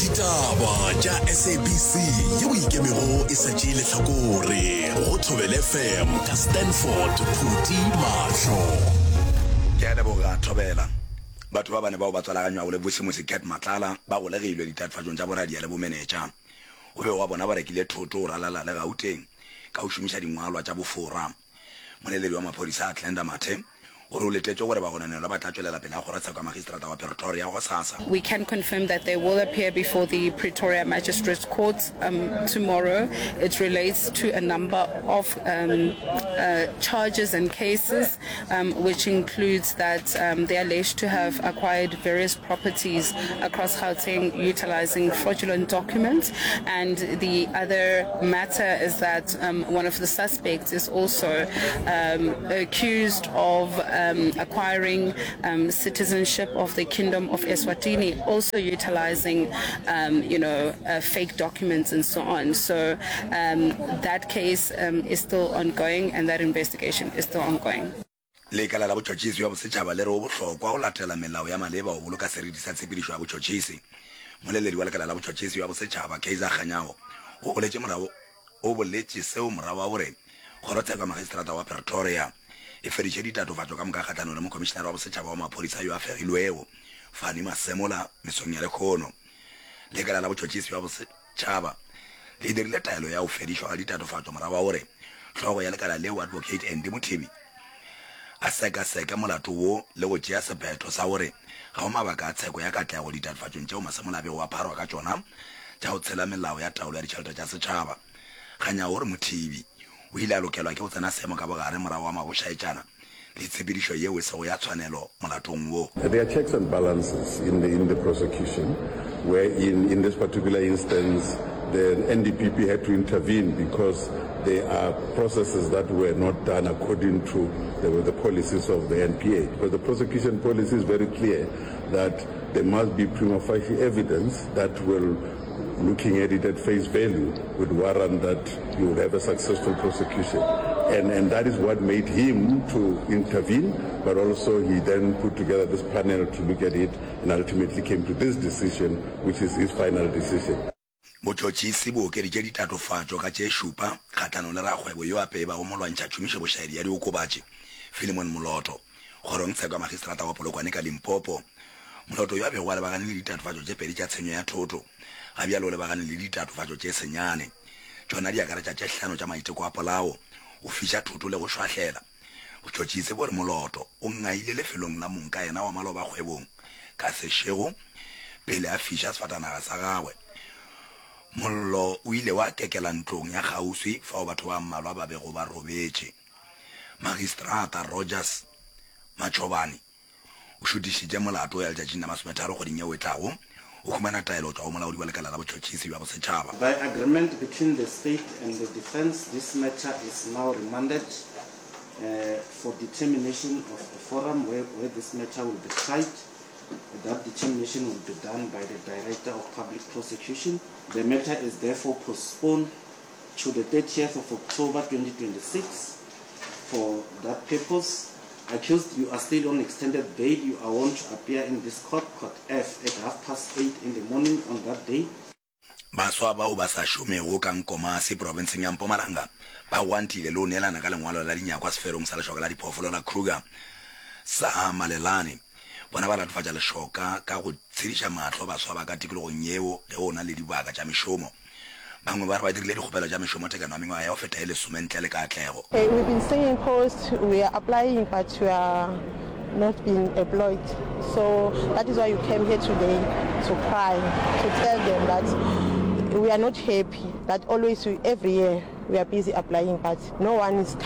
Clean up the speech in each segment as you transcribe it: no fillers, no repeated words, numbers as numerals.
Ditaba tša SABC yeo e ikemego e sa tšee lehlakore go Thobela FM ka Stanford Phuti Mahlo. Ke a leboga Thobela. Batho ba bane bao ba tswalaganywago le Vusimusi Cat Matlala ba golegilwe ditatofatšong tša boradia le bomenetša. Go be gwa bona ba rekile thoto go ralala le Gauteng ka go šomiša dingwalwa tša bofora. Moleledi wa maphodisa Glenda Mathe o re o letetše gore bagononelwa ba tla tšwelela pele ga kgorotsheko ya magistrata wa Pretoria gosasa. We can confirm that they will appear before the Pretoria Magistrates Court tomorrow. It relates to a number of charges and cases which includes that they are alleged to have acquired various properties across Gauteng utilizing fraudulent documents. And the other matter is that one of the suspects is also accused of acquiring citizenship of the Kingdom of Eswatini, also utilizing, you know, fake documents and so on. So that case is still ongoing and that investigation is still ongoing. Lekala la Botšhotšhisi bja Bosetšhaba le re go bohlokwa go latela melao ya maleba go boloka seriti sa tshepedišo ya botšhotšhisi. Moleledi wa Lekala la Botšhotšhisi bja Bosetšhaba, Kaizer Kganyago, o boletše morago o boletše seo morago ga gore Kgorotsheko ya Magistrata wa Pretoria e fediše ditatofatšo ka moka kgahlanong le Mokhomišenare wa Bosetšhaba wa Maphodisa yo a fegilwego, Fannie Masemola, mesong ya lehono. Lekala la Botšhotšhisi bja Tšhaba le dirile taelo ya go fedišwa ga ditatofatšo morago ga gore hlogo ya lekala leo Advocate Andy Mothibi a sekaseke molato wo le go tšea sephetho sa gore ga go mabaka a tsheko ya katlego ditatofatšong tšeo Masemola a bego a pharwa ka tšona tša go tshela melao ya taolo ya ditšhelete tša setšhaba. Kganyago gore Mothibi o ile a lokelwa ke go tsena seemo ka bogare morago ga mabošaetšana le tshepedišo yeo e sego ya tshwanelo molatong wo. There are checks and balances in the, in the prosecution, where in, in this particular instance, the NDPP had to intervene because there are processes that were not done according to the, the policies of the NPA. Because the prosecution policy is very clear that there must be prima facie evidence that will looking at it at face value, would warrant that you would have a successful prosecution. And, and that is what made him to intervene, but also he then put together this panel to look at it and ultimately came to this decision, which is his final decision. Botšhotšhisi bo okeditše ditatofatšo ka tše šupa kgahlanong le rakgwebo yo a peebago molwantšha tšhomišobošaedi ya diokobatši, Philemon Moloto, kgorongtsheko ya magistrata wa Polokwane ka Limpopo. Moloto yo a bego a lebagane le ditatofatšo tše pedi tša tshenyo ya thoto, ga bjale o lebagane le ditatofatšo tše senyane. Tšona di akaretša tše hlano tša maiteko a polao, go fiša thoto le go šwahlela. Botšhotšhisi bo re Moloto o ngaile lefelong la mongkayena wa maloba kgwebong ka sešego pele a fiša sefatanaga sa gagwe. Mollo o ile wa kekela ntlong ya kgauswi fao batho ba mmalwa ba bego ba robetše. Magistrata Rogers Matšhobane o šutišitše molato ya letšatšing la masometharo kgweding yeo e tlago, o humana taelo go tšwa go molaodi wa lekala la botšhotšhisi bja bosetšhaba. By agreement between the state and the defence this matter is now remanded for determination of a forum where, where this matter will be tried. That determination will be done by the Director of Public Prosecution. The matter is therefore postponed to the 30th of October 2026 for that purpose. Accused, you are still on extended bail. You are warned to appear in this court, Court F, at half past 8 in the morning on that day. Baswa bao ba sa šomego ka Nkomasi profenseng ya Mpumalanga ba gwantile le go neelana ka lengwalo la dinyakwa seferong sa lešoka la diphoofolo la Kruger sa Malelane. Bona ba latofatša lešoka ka go tshediša mahlo baswa ba ka tikologong yeo ge go na le dibaka tša mešomo. Bangwe ba re ba dirile dikgopelo tša mešomo tekano ya mengwaga ya go feta e lesome ntle le katlego. We've been singing posts, we are applying but we are not being employed. So that is why you came here today to cry, to tell them that we are not happy that always we, every year we are busy applying but no one is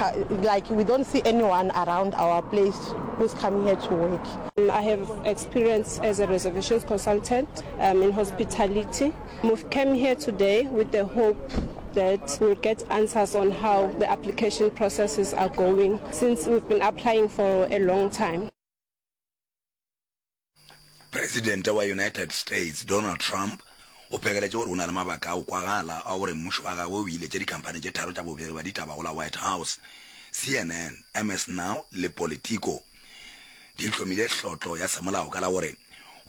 like we don't see anyone around our place who's coming here to work. I have experience as a reservations consultant um, in hospitality. We've come here today with the hope that we'll get answers on how the application processes are going since we've been applying for a long time. Presidente wa United States Donald Trump o phegeletše gore o na le mabaka a go kwagala a gore mmušo wa gagwe o iletše dikhamphani tše tharo tša bobegi bja ditaba go la White House, CNN, MS Now le Politico. Di hlomile hlotlo ya semolao ka la gore.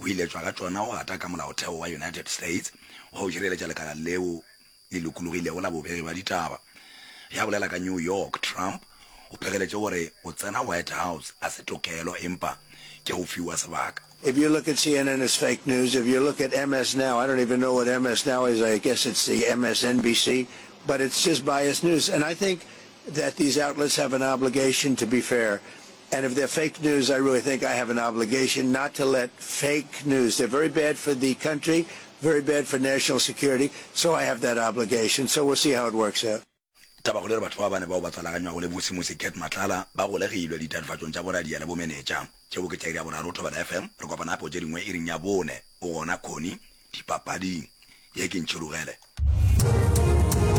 Go iletšwa ga tšona go gata ka molaotheo wa United States wa go šireletša lekala leo le lokologilego la bobegi bja ditaba. Ge a bolela ka New York, Trump o phegeletše gore go tsena White House ga se tokelo empa ke go fiwa sebaka. If you look at CNN it's fake news, if you look at MS Now, I don't even know what MS Now is, I guess it's the MSNBC, but it's just biased news. And I think that these outlets have an obligation to be fair. And if they're fake news, I really think I have an obligation not to let fake news. They're very bad for the country, very bad for national security, so I have that obligation. So we'll see how it works out. Tabakgolo e re batho ba bane bao ba tswalaganywago le Vusimusi Cat Matlala ba golegilwe ditatofatšong tša boradia le bomenetša. Tšeo ke tša iri ya boraro Thobela FM. Re kopana gape go tše dingwe iring ya bone. O gona Connie dipapading. Ye ke Ntšhirogele.